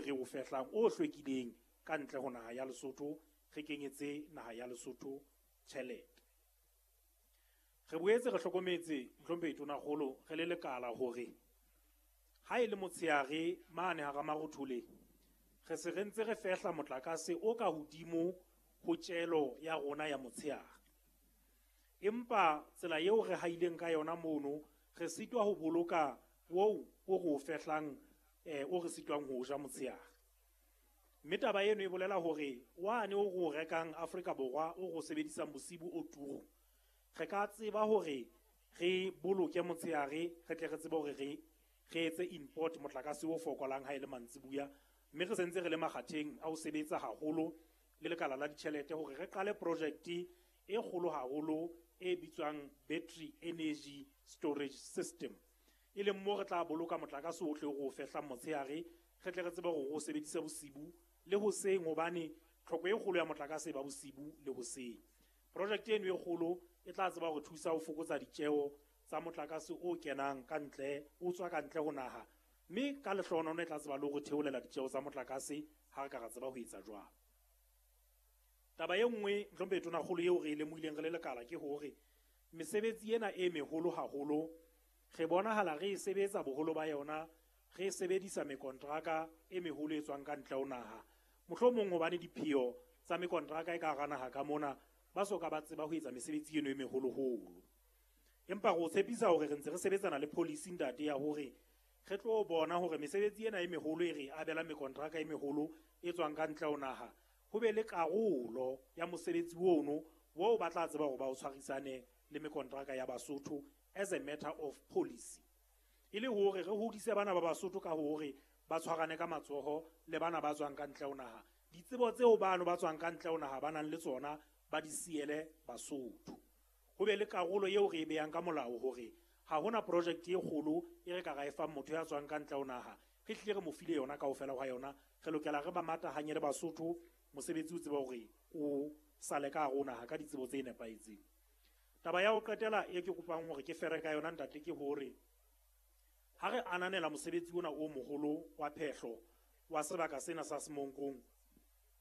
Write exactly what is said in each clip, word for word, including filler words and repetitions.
re o fehlang o hlwekileng ka ntle ho naha ya Lesotho, re kenyetse naha ya Lesotho tjhelete. Re boetse re hlokometse, mohlomphehi Tonakgolo, re le lekala hore ha e le motshehare mane hara Marothole re se re ntse re fehla motlakase o ka hodimo ho tjelo ya rona ya motshehare. Empa tsela eo re haileng ka yona mono, re sitwa ho boloka oo o re o fehlang, eh, o re sitwang ho ja motshehare. Mme taba eno e bolela hore wane o re o rekang Afrika Borwa o re o sebedisang bosibu o turu, re ka tseba hore re boloke motshehare, re tle re tsebe hore re, re etse import motlakase o fokolang ha e le mantsibuya. Mme re sentse re le makgatheng a ho sebetsa haholo le lekala la ditjhelete hore re qale project e kgolo haholo e bitswang battery energy storage system, e leng mo re tla boloka motlakase ohle o re o fehlang motshehare, re tle re tsebe hore o sebedise bosibu le hoseng, hobane tlhoko e kgolo ya motlakase e ba bosibu le hoseng. Project eno e kgolo e tla tseba hore thusa ho fokotsa ditjeo tsa motlakase o kenang ka ntle, o tswa ka ntle ho naha, mme ka lehlohonolo e tla tseba le hore theolela ditjeo tsa motlakase ha re ka ra tseba ho etsa jwalo. Taba e nngwe, mohlomphehi Tonakgolo, eo re e lemohileng re le lekala ke hore mesebetsi ena e meholo haholo re bonahala re e sebetsa boholo ba yona re sebedisa mekontraka e meholo e tswang ka ntle ho naha. Mohlomong hobane dipheo tsa mekontraka e ka hara naha ka mona ba soka ba tseba ho etsa mesebetsi eno e meholoholo. Empa re o tshepisa hore re ntse re sebetsana le policy ntate ya hore re tlo bona hore mesebetsi ena e meholo e re abela mekontraka e meholo e tswang ka ntle ho naha, ho be le karolo ya mosebetsi ono oo ba tla tseba hore ba o tshwarisane le mekontraka ya Basotho as a matter of policy, e le hore re hodise bana ba Basotho ka hore ba tshwarane ka matsoho le bana ba tswang ka ntle ho naha. Ditsebo tseo bano ba tswang ka ntle ho naha ba nang le tsona ba di siele Basotho. Ho be le karolo eo re e behang ka molao hore ha hona project e kgolo e re ka ra e fang motho ya tswang ka ntle ho naha, re hlile re mo file yona kaofela hwa yona. Re lokela re ba matahanye le Basotho, mosebetsi o tseba hore o sale ka hare ho naha ka ditsebo tse nepahetseng. Taba ya ho qetela e ke kopang hore ke fere ka yona ntate ke hore ha re ananela mosebetsi ona o moholo wa phehlo wa sebaka sena sa Semonkong,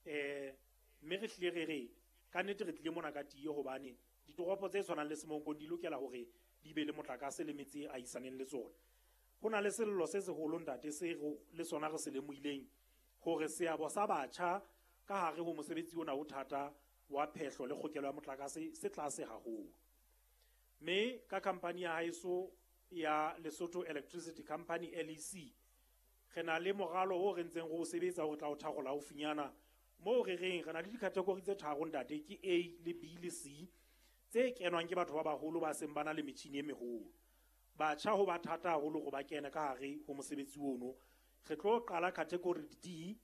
eh, mme re hlile re re ka nnete re tlile mona ka tiyo, hobane ditoropo tse tshwanang le Semonkong di lokela hore di be le motlakase le metse e ahisaneng le tsona. Ho na le sello se seholo ntate se le sona re se lemohileng hore seabo sa batjha ka hare ho mosebetsi ona o thata wa phehlo le kgokelo ya motlakase se tlase haholo. Mme ka company ya haeso ya Lesotho Electricity Company L E C, re na le moralo o re ntseng re o sebetsa hore tla o tharola haufinyana, moo re reng re na le di-category tse tharo ntate, ke A le B le C, tse kenwang ke batho ba baholo ba seng ba na le metjhini e meholo. Batjha ho ba thata haholo hore ba kene ka hare ho mosebetsi ono. Re tlo qala category D.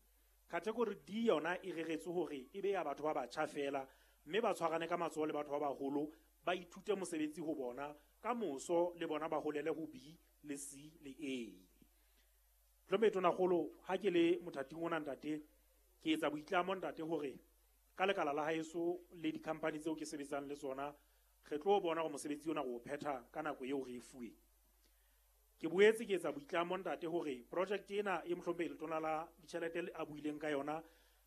Category D yona e reretswe hore e be ya batho ba batjha fela, mme ba tshwarane ka matsoho le batho ba baholo, ba ithute mosebetsi ho bona, ka moso le bona ba holele ho B le C le A. Mohlomphehi Tonakgolo, ha ke le mothating ona ntate, ke etsa boitlamo ntate hore ka lekala la haeso le di-company tseo ke sebetsang le tsona, re tlo bona hore mosebetsi ona re o phetha ka nako eo re e fuweng. Ke boetse ke etsa boitlamo ntate hore project ena e mohlomphehi Letona la Ditjhelete a buileng ka yona,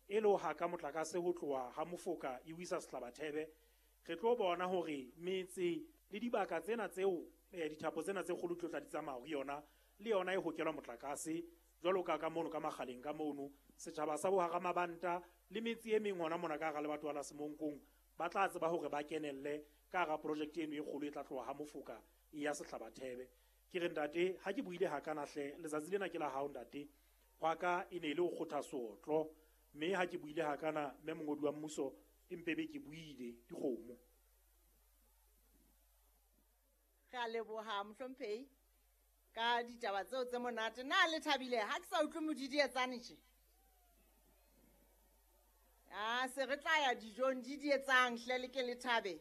e le ho haka motlakase ho tloha ha Mofoka e o isa Sehlabathebe, re tlo bona hore metse le dibaka tsena tseo, eh, dithapo tsena tse kgolo di tlo tla di tsamaya ho yona, le yona e hokelwa motlakase jwalo ka ka mono ka makgaleng ka mono, setjhaba sa bohara mabanta le metse e meng hona mona ka hara lebatowa la Semonkong ba tla tseba hore ba kenelle ka hara project eno e kgolo e tla tloha ha Mofoka e ya Sehlabathebe. Ke re ntate, ha ke buile hakana hle, letsatsi lena ke la hao ntate, hwa ka e ne e le ho kgotha seotlo, mme ha ke buile hakana mme mongodi wa mmuso empe be ke buile dikgomo. Re a leboha mohlomphehi ka ditaba tseo tse monate. Na le thabile ha ke sa utlwe modidietsane tje? Ah, se re tla ya dijong di dietsang hle le ke le thabe.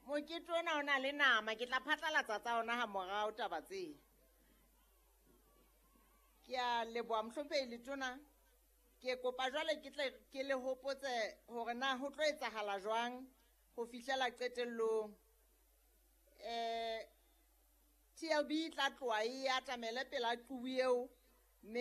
Mokete ona o na le nama, ke tla phatlalatsa tsa ona ha morao taba tse. Ke a leboha mohlomphehi Letona. Ke kopa jwale ke tle ke le hopotse hore na ho tlo etsahala jwang ho fihlela qetellong. Eh, T L B e tla tloha e atamele pela qubu eo